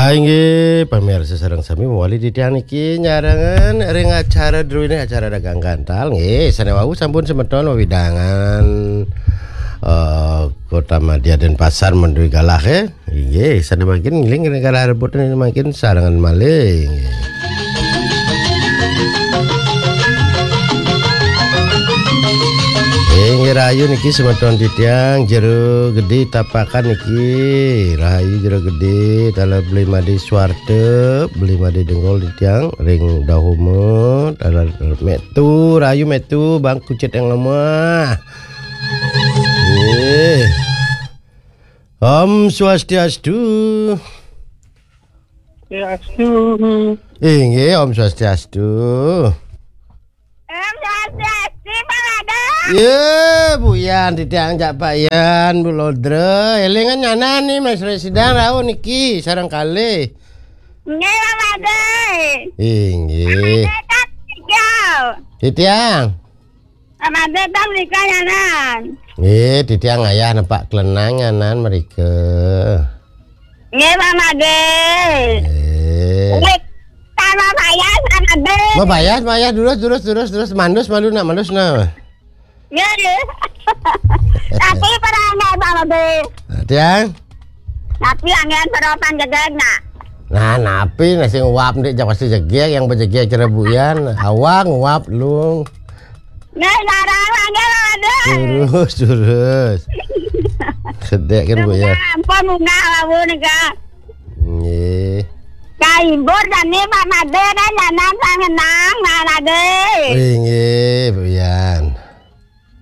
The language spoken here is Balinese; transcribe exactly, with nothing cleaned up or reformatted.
Inggih, pamirsa sareng sami mawali titiang niki nyarengan ring acara druene, acara dagang gantal. Nggih, sane wau sampun semeton wewidangan, eh, Kota Madya Denpasar, Mandui Galah, eh. Inggih, sane mangkin ngiling ring galah rebutan mangkin sarengan malih. Nggih. Inggih rahayu niki semeton titiang Jero Gede Tapakan niki. Rahayu Jero Gede, taler Beli Made Suarte, Beli Made Denggol titiang ring Dahoma, taler metu, rahayu metu, Bang Kucit yang lemah. Nggih. Om Swastiastu. Swastiastu. Inggih, Om Swastiastu. Om Swastiastu, Pak Made. Ye, Buyan, titiang cak Pak Yan, Bu Lodre. Elingan nyanan nih, Mas Residan rauh niki, sareng kalih. Nggih, Pak Made. Inggih. Pak Made, tak tiga. Titiang. Pak Made, tak menika nyanan. Nggih, titiang ayah nepak kelenang nyanan merika. Nggih, Pak Made. Nggih. Nggih, sama saya, Pak Made. Mabayas, mayas, durus, durus, durus, durus, mandus, malu nak, mandus nak. Nggih, nggih. Tapi pada enggak, Pak Made. Tiang? Tapi angin peropan gedeg nak. Nah, napi nah sing uap ndik, jak pasti jegeg, yang bejegeg cerebuyan. Awang uap lung. Nggih, sareng, nggih, Pak Made. Durus, durus. Sedek kan, Bu, ya? Ampun, munggah wau nika. Nggih. Kaibur dane Pak Made, kan nyanan sangenang, Pak Made. Inggih, Bu, ya.